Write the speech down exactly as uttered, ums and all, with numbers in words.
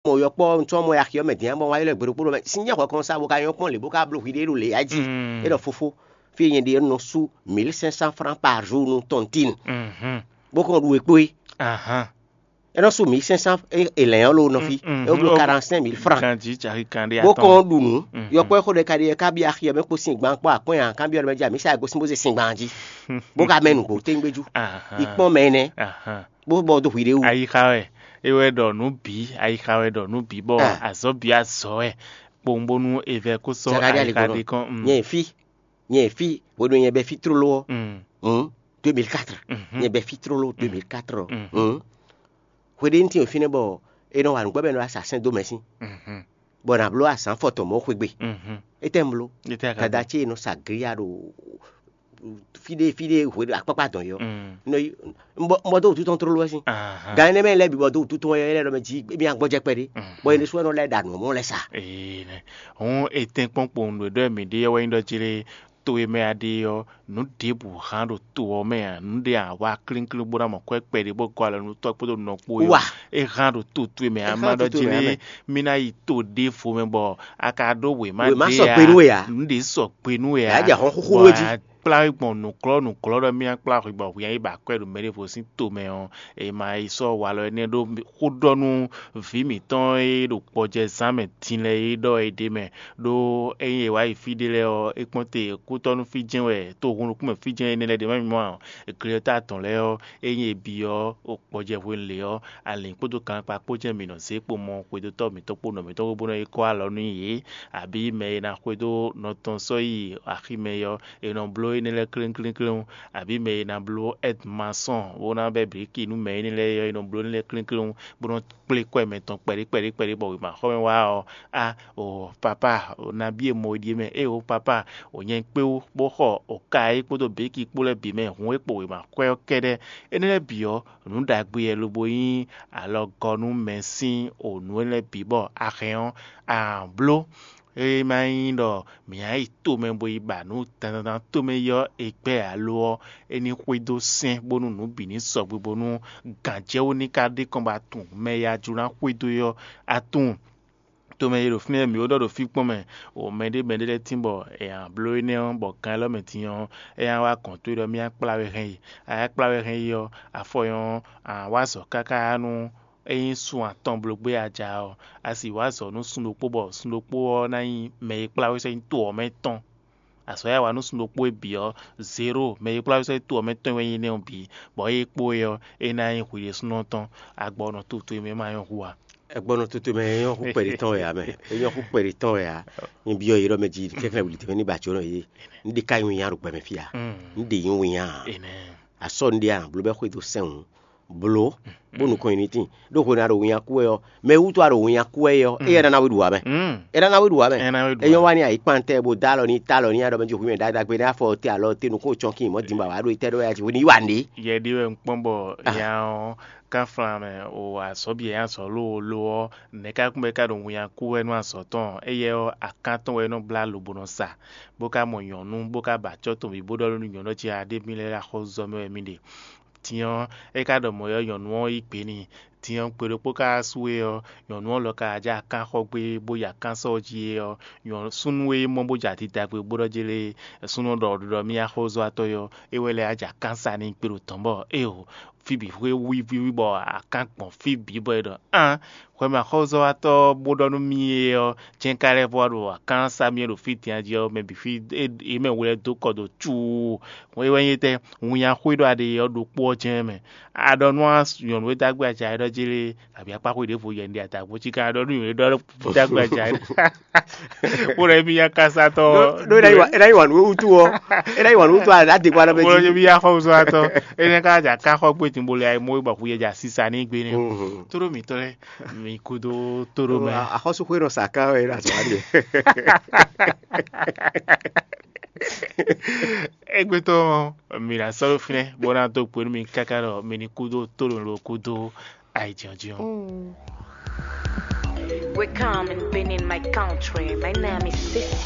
mɔ yɔkpɔ́ ŋutɔ́ mɔ axi ɔ́ mɛ din bɔ wá ylɔ́ gběɖokpó ɖo mɛ sín jɛ xɔ kɔn sa bo ka nyɔ́ kpɔ́n lě bó ka bló hwi ɖé ɖo lě ya jí. É ɖɔ fofo, fí e nyɛ ɖe nɔ sú mille cinq cents francs par jour nú tɔntin, bó kɔn ɖu e kpó é. É nɔ sú mille cinq cents, elɛn ɔ́ lo nɔ fí, é wó bló quarante-cinq mille francs. Bó kɔn ɖu nǔ, yɔkpɔ́ e xó ɖɛ ka ɖi é ka byɔ́ axi ɔ́ mɛ kpó sín gban kpó akwɛ́n ǎ, kan byɔ́ ɖɔ mɛ jí amǐ sa gosín bó zé sín gban jí, bó ka mɛ nǔgbó téŋgbéjú. Yi kpɔ́n mɛ énɛ́, bó bɔ dó hwi ɖé wú. Ayixa wɛ é wɛ ɖɔ nǔ bǐ, ayixa wɛ ɖɔ nǔ bǐ bɔ azɔ̌ bǐ azɔ̌ wɛ kpowun bónú è vɛ kó sɔ́ Zakaria ayixa Ligbɔnɔ. Ɖe kɔn. Nyɛ fí, nyɛ fí, hwenu nyɛ bɛ fí tlóló ɔ́, hǔn, deux mille quatre, nyɛ bɛ fí tlóló deux mille quatre ɔ́, hǔn, hwe ɖé ní tín fínɛ́ bɔ è nɔ wa nǔgbɛ́ bɔ è nɔ wá sa sɛ́n dó mɛ sín, bɔ nǎ bló azǎn fɔtɔn mɔ̌ xwegbe. Étɛ́ un bló? Dada ce e nɔ sa glia ɖo fí ɖé fí ɖé hwe akpákpá dɔn yɔ. Nɔ yi, un bɔ dó wútu tɔn tlóló wɛ sín. Gan énɛ́ mɛ lɛ́ɛ bǐ bɔ dó wútu tɔn wɛ lɛ́ɛ ɖɔ mɛ jí émí agbɔjɛ kpɛɖé, bɔ é ɖésú wɛ nɔ lɛ́ ɖa nǔ mɔ lɛ́ sa. Ee nɛ. Hǔn, è tɛ́nkpɔ́n kpowun nǔ e ɖɔ mǐ ɖe ɔ́ wɛ nyí ɖɔ jí lé, to e mɛ a ɖe ɔ́, nǔ ɖěbǔ hán ɖo to ɔ́ mɛ ǎ, nǔ ɖé a wá klínkín bó ná mɔ kwɛ́ kpɛɖé bó gɔ́ alɔ nú tɔ́ kpódó nɔ kpó é wá. É hán ɖo to towe mɛ ǎ, má ɖɔ jí lé, mí ná yi to ɖěvo mɛ bɔ a ka ɖó wěma ɖé ǎ. Nǔ ɖě sɔgbe nú we ǎ. Bɔ a kplá we gbɔn nǔglɔ́ nǔglɔ́ ɖɔ mí ná kplá hwi gbɔn hwi ná yi ba akwɛ́ ɖo mɛ ɖěvo sín to mɛ ɔ́, è ma yi sɔ́ walɔ énɛ́ ɖó xó ɖɔ nú vǐ mǐtɔn e ɖo gbɔjɛzán mɛ din lɛ́ɛ é ɖɔ é ɖ'é mɛ. Ɖó ényí è wǎ yi fí ɖé lɛ́ɛ ɔ́, é kpɔ́n te kútɔ́nú fí jɛ́n wɛ, tohunnukún mɛ fí jɛ́n énɛ́ lɛ́ɛ ɖě ma mì mɔ ǎ. Gleta tɔn lɛ́ɛ ɔ́, ényí è byɔ́ gbɔjɛhwenu lě ɔ́, alǐn kpódó gankpá kpó jɛ́n mǐ nɔ zé kpo mɔ xwedótɔ́ mǐtɔn kpó nɔ mǐtɔn kpó bó nɔ yi kɔ́ alɔ nú yě, abǐ mɛ e ná xwedó nɔ tɔn sɔ́ yi aximɛ é ɔ́, è nɔ bló énɛ́ lɛ́ɛ kléŋkléŋkléŋ, abǐ mɛ e ná bló ɛ́dmasɔ́n bó ná bɛ́ blǐki nú mɛ énɛ́ lɛ́ɛ é ɔ́, è nɔ bló énɛ́ lɛ́ɛ kléŋkléŋ, bó nɔ́ kplé kwɛ́ mɛtɔn kpɛɖé kpɛɖé kpɛɖé bɔ wěmaxɔmɛ wá ɔ́, á o papá, o nabí e mɔ é ɖíe mɛ, éeǒ papá, o nyɛ kpé wú bó xɔ o ka é kpódó běki kpó lɛ́ɛ bǐ mɛ hǔn é kpo wěma xwɛ ɔ́ kɛ́ɖɛ́. Énɛ́ lɛ́ɛ bǐ ɔ́, nǔ ɖagbe wɛ lobo nyí alɔgɔ́ nú mɛ sín o nǔ énɛ́ lɛ́ɛ bǐ bɔ a hɛn ɔ́, a bló. É ma nyí ɖɔ mǐ ná yi tomɛ bo yi ba nǔ dandandan tomɛ yi ɔ́, è gbɛ́ alo ɔ́, é ní xwedó sɛ́n bónú nǔ bǐ ní sɔgbe bónú gǎnjɛwú ní ka ɖe kɔn ba tunwun mɛ e a jló ná xwedó é ɔ́, a tunwun. Tomɛ e ɖo fínɛ́ mǐ ó ɖɔ ɖo fí kpɔ́n mɛ, o mɛɖé mɛɖé lɛ́ɛ tín bɔ è nǎ bló énɛ́ ɔ́, bɔ gan élɔ́ mɛ din ɔ́, é ná wá gɔ̌n towe ɖɔ mì ná kplá we hɛn yi. A ná kplá we hɛn yi ɔ́, afɔ nyɔ́ ɔ́, a nǎ wa azɔ̌ káká nú ényí sun atɔn bló gbé a ja ɔ́, a sì wa azɔ̌ nú sun ɖokpó bɔ sun ɖokpó ɔ́ ná nyí mɛ e kplá we sɔ́ nyi to ɔ́ mɛ tɔn. Azɔ̌ e a wa nú sun ɖokpó e bǐ ɔ́, zero, mɛ e kplá we sɔ́ nyi to ɔ́ mɛ tɔn wɛ nyí énɛ́ ɔ́ bǐ, bɔ ée kpó é ɔ́, é ná nyí hwi ɖésúnɔ tɔn, agbɔ nɔ toto e mɛ ma nyɔ́ hu ǎ. Ɛgbɔnɔ toto mɛ é nyɔ́ xú kpɛɖé tɔn wɛ ǎ mɛ. É nyɔ́ xú kpɛɖé tɔn wɛ ǎ. Nyi byɔ́ yě ɖɔ mɛ jí kɛ́kɛ́ wuli tɛnmɛ ní ba jǒnɔ yé. Ní ɖe ka nyi winnyá ɖo gbɛ mɛ fí ǎ. Ní ɖe nyí winnyá ǎ. Asɔ ní ɖe a nǎ bló bɛ́ xwedó sɛn wǔ. Bló, bó nukɔn nyi ní tín. Ɖó hwenu a ɖo winnyá kú wɛ ɔ́, mɛ wútu a ɖo winnyá kú wɛ ɔ́, éyɛ́ ná ná we ɖu ǎ mɛ. É ná ná we ɖu ǎ mɛ. É ná we ɖu ǎ. É nyɔ́ wá ní ayǐkpan tɛ bó dó alɔ ní, tá alɔ ní, a ɖɔ mɛ jí hwǐ mɛ ɖagbe ní afɔ te alɔ te nukún cɔn kí mɔ̌ din bɔ a wǎ ɖo itɛ́ ɖɔ wɛ a jí hwenu yi wá nǔ ɖé. Yɛ ɖi wɛ un kpɔ́n bɔ nya ɔ́, kánflan mɛ o azɔ̌ bǐ e azɔ̌ lóoló ɔ́, nɛ̌ ká kún bɔ é ka ɖo winnyá kú wɛ nú azɔ̌ tɔn? Éyɛ́ ɔ́, akán tɔn wɛ é nɔ blá lobo nɔ sa, bó ka mɔ nyɔ̌nu, bó ka ba acɔ́ tɔn bǐ bó ɖɔ nú nyɔ̌nu ɔ́ jí a ɖe mì lɛ́ ɖo axɔ́zɔ́ mɛ wɛ mì ɖe. Din ɔ́, é ka ɖɔ mɔ̌ ɔ́, nyɔ̌nu ɔ́ yí gbe n'i. Din ɔ́, gbe ɖokpó ka wá sú e ɔ́, nyɔ̌nu ɔ́ lɔ ka wá jɛ akán xɔ gbé bó yi akán sɔ́ ɔ́ jí é ɔ́, nyɔ̌ súnnu e mɔ bó jɛ adidagbe bó ɖɔ jélé súnnu ɔ́ ɖɔ ɖɔ mì axɔ́zɔ́watɔ́ é ɔ́, é wɛ lɛ́ wá jɛ akán sa n'i gbe ɖo tɔ̌n bɔ éeǒ, fí bǐ xwé wíwíwí bɔ akán gbɔn fí bǐ bɔ é ɖɔ án, hwɛmɛxɔ́zɔ́watɔ́ bó ɖɔ nú mì é ɔ́, jɛ́n ka lɛ́ vɔ wá ɖo akán sa mì é ɖo fí din jí ɔ́, mɛ bǐ fí é mɛ wlɛ́ dó kɔ dó cuu. É wɛ nyí étɛ́? Winnyá xwé ɖɔ a ɖe ɔ́ ɖokpó ɔ́ jɛ́n mɛ. A ɖɔ nú nyɔ̌nu e dó agbe aca é ɖɔ jélé, abǐ akpá xwé ɖěvo yɛ un ɖe adǎgbó cí ká ɖɔ nú nyɔ̌nu e ɖɔ dó agbe aca é. Bó ɖɔ émí nyá kásátɔ́. Ɖó é ná yi wa nǔ wútu ɔ́, é ná yi wa nǔ wútu ɔ́, a ɖě gba ɖɔ bó ɖɔ bɛ jí. Émí yá xɔ zɔ atɔ. É nɛ́ ká jà ká xɔ gbé tìǹbolo ya mɔ é bɔ xu yɛ jà sísa ní gbé nɛ́. Tóɖó mǐtɔn lɛ́ɛ, mi kúdó tóɖó mɛ. Axɔ́súxwé nɔ sa ká wɛ é ɖo azɔ̌ wa ɖe. Égbé tɔn ɔ́, mǐ ná sɔ́ ɖó fínɛ́ bó ná dó gbe nú mi káká ɖɔ mi ní kúdó tóɖó lo kúdó ayǐjínjɔ́n. We come in Benin, my country. My name is Sisi